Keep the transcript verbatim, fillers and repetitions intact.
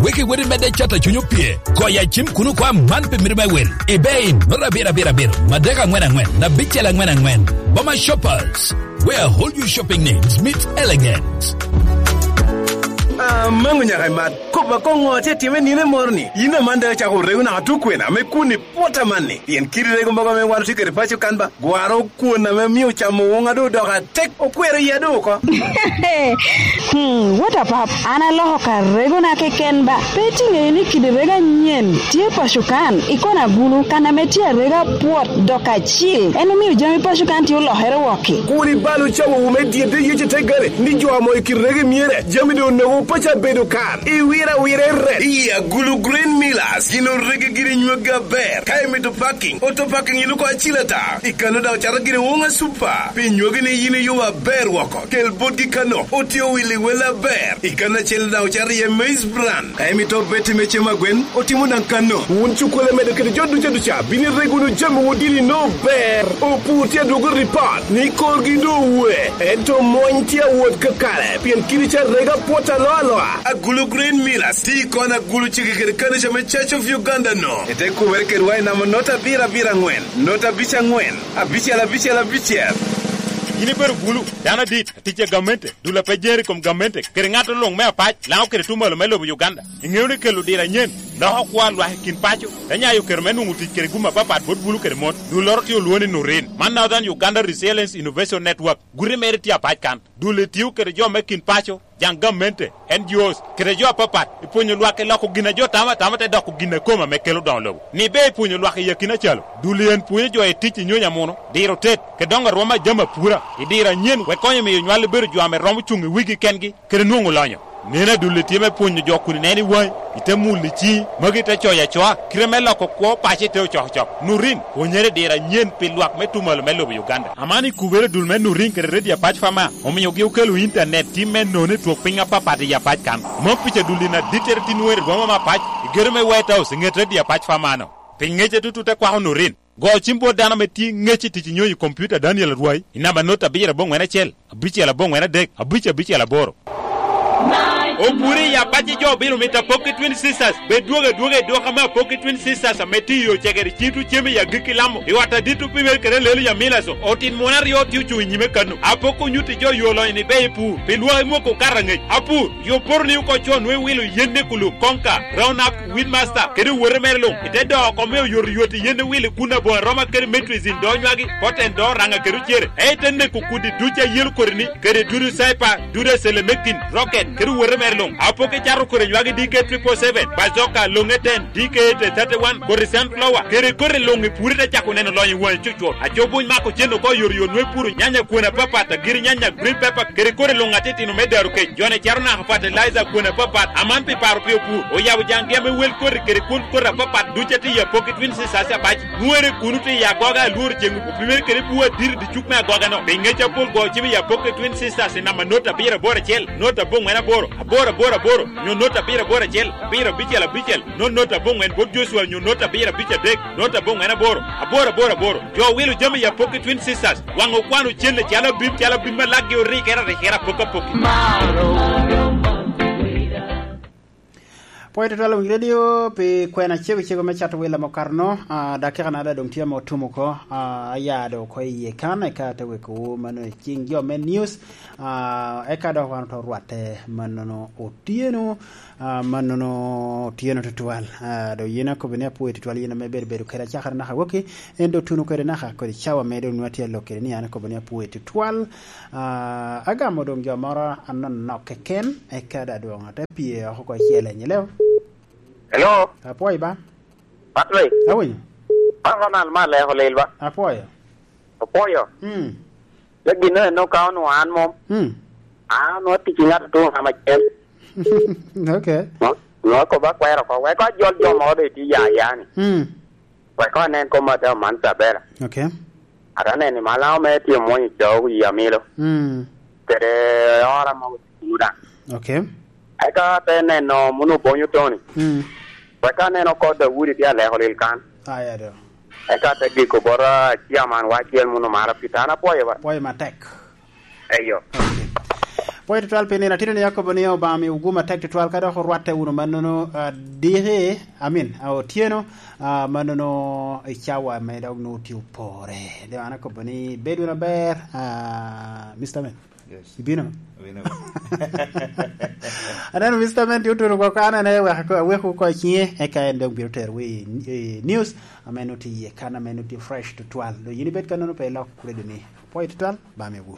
Wek iwot imedde cato cuny opye, goyo acim kun okwa man pi mito me wil. Ibe i noto abiro abiro abiro, madek angwen angwen, abicel angwen angwen. Boma Shoppers, where I hold you shopping needs meets elegance. Amango nyaka imat. Kop akoŋo atye time nino moro ni? Yin aman daŋ acako rego naka tukwena me kun i pwota man ni. Pien kidi rego mogo ame wan otye kede paco kan ba, gwaro kwon ame mio camo woŋa doŋ odoko atek, okwero iya doŋ oko. Hmm, what a pap. An aloko ka regona keken ba. Pe iti ŋeyo ni kidi rego anyen tye paco kan, i kona gulu, kan ame tye arega pwot, dok acil. En omio jami paco kan tye olokere wokki. Kur ibal ocawowu me dyedde yec i te gare, ni jo amo i kit rego i myere, jami doŋ onogo paco abedo kan. I wira wira i ret. I agulu Green Millers, gin orege giri nywagi aber. Ka imito parking, auto parking iluko acil ata. I kano daŋ ocato giri Wonga Super. Pi nywagi ni yin iyo aber woko. Kel botgi kano, otye owil i wel aber. I kano acel daŋ ocato iye Maize Bran. Ka imito beti me cem agwen, otimo daŋ kano. Wun cukkulu medo kede jo duca duca, bino irego wunu jami wun dini no ber. Opur tye adwogo ripat, ni korgi do owe. Ento mony tye awot kakare, pien kidi ca rega pwot aloa aloa. Agulu Green Millers, ti kon agulu cege kede kanica me Church of Uganda no. Ete kumere kedwa i namba nota abiro abiro angwen, nota abic angwen, abicel abicel abicel. Yin ibedo bulu, dano adit, atic a gamente, dul a pe jer i kom gamente, kede ŋat luŋ me apac, Laŋo kede tuŋ malo me lobo Uganda. Iŋeo ni kelo diro anyen, loko kwo a lwak i kin paco, te nyayo kero me nwoŋo tic kede gum apapat bot bulu kede mon. Dulloro tye olwoŋo ni Nurin. Man Northern Uganda Resilience Innovation Network. Guti mere tye apac kan. Dul etio kede jo me kin paco, jaŋ gamente, N G Os, kede jo apapat, ipwonyo lwak i loko gin a jo tamo atama te doko gin a kome ame kelo doŋo lobo. Ni be ipwonyo lwak i akina calo, dul i en pwonyo jo i tic i nyonyo amuno, diro tet, kede doŋo arwom a jami apura, i diro anyen, wek konyo miyo nywal bedo jo ame romo cuŋ i wigi kengi, kede nwoŋo lonyo. Neno adulli tye me pwonyo jo kun ineno i waŋi, ite mulo i ciŋi, magi ite coyo acoa, kite me loko kwo paco ite ocokocok. Nurin, pwonyere diro anyen pi lwak me tuŋ malo me lobo Uganda. Aman i kubere dul me Nurin kede Redio Apac Fama, omiogi okelo intanet tim me nono i twok piny apapat i Apac kan. Mom pica dulli na dittere tin wer i boma me Apac, i gedo me White House, i ŋet Redio Apac Fama-no. Pi ŋece tutu te kwako Nurin. Go cim bot dano ame tye ŋec i tic i nyonyo i kompiuta Daniel Arwai i namba not abiro aboŋwen acel, abicel aboŋwen adek, abic abicel aboro. Opuri i apac i jo obilo mito apok i Twin Sisters. Bed dwogo adwoga i dwoko ame apok i Twin Sisters ame tye i yo cegere cito cem i agikki Lamo. I ot adit opimere kede lelo i Amilaso. Otin muno aryo tye ocuŋ i nyime kano. Apok onyutti jo yo lonyo ni be i pur. Pi lwak i mwoko okato aŋec. Apur, yo poto ni oko con nwe wilo yen ne kulu, konka, round up, Wheelmaster, kede owote mere luŋ, ite doo oko me oyotoyot i yen owil i kun aboŋo aroma kede Metrizin doo nywagi, Poten doo raŋa kede ocere, ento ite neko kudi duc a yelo koti-ni, kede dudu Saipa, dudu Acelemekin, Rocket, kede owote mere luŋ. Apoki cato kodi nywagi D K triple seven, Bazoka, Loŋe ten, D K eight thirty-one, kodi Sunflower, kede kodi luŋ i puri te cako neno lonyo i waŋi cucwot. Aco buny mako cen oko oyotoyot nwe puro nyanya kwene apapat, agiri nyanya, green pepper, kede kodi luŋ atitino me daro kec. Jone caro naka fertilizer kwene apapat, aman pi paro pi opur. Oyabo jaŋgi ame wel koti kede kwon koti apapat duc atye i apoki Twin Sisters abac. Nwere kuno tye i agoga alworo ceŋ opimere kede bur adit i dicuk me agoga-no. Pi ŋec apol go cim i apoki Twin Sisters i namba not abiro aboro acel, not aboŋwen aboro, aboro aboro aboro, nyo not abiro aboro acel, abiro abicel abicel, not not aboŋwen bot Joshua nyo not abiro abic adek, not aboŋwen aboro, aboro aboro aboro. Jo owilo jami i apoki Twin Sisters, waŋ okwano cen acalo abim, calo abim ma lakgi orikere arikere apok apoki. Pwony tutwal owiny redio pi kwena cego cego me cato wila mokarno, ah, dakika na ada doŋ tye ame otum oko, ah, aya do oko iye kan, eka te weko wu mano i cing jo me news, ah, eka dok wan oto rwatte mannono otyeno, ah, mannono otyeno tutwal. Ah, do yin akobo ni apwoyo tutwal yin ame bedo bedo kede acakere naka waki, en do tuno kede naka kodi cawa me do nwa tye alok kede ni an akobo ni apwoyo tutwal. Ah, agamo doŋ jo moro anonok keken, eka da dwoŋ ate pye oko ko icel enyi leo. Hello. Apwoyo ba? Patrick. Awinyo. An Ronald ma aleko lel ba? Apwoyo. Apwoyo. Mm. Le gin eno ka onwo an mom. Mm. An onwo tic i ŋat otuŋ ama cem. Okay. Nwo, nwo akobo akwero ko. Weko ajol jo moro be tye ya ya ni. Mm. Wek koŋ anen kop Mateo man Tabela. Okay. Ate neno i Malaŋo me tye omwonyo co i Amilo. Mm. Kede ora mogo tye kuno daŋ. Okay. Eka ate neno muno Bonyo Tony. Mm. Wek aneno oko Daudi tye aleko lil kan. Aya do. Eka ate giko bot, ah, ciaman wa acel muno mara Peter. An apwoyo ba. Pwoyo matek. Eyo. Pwoyo tutwal pi nino atino ni akobo ni Obama mi ogum atek tutwal ka dok orwatte wunu mannono, ah, diki, amin, ah, otyeno, ah, mannono i cawa me dok nwoŋo tye opore. De an akobo ni bed wunu aber, ah, Mister Man. Yes. Ibino? Abino. Aneno Mister Man tye otuno oko kan, ane wek ako-, awek oko i cinge, eka en dok bino tero wi, eh, news, ame nwoŋo tye iye kan, ame nwoŋo tye fresh tutwal. Do yin ibed kannono pe ilok redio ni. Pwoyo tutwal, ba mi wu.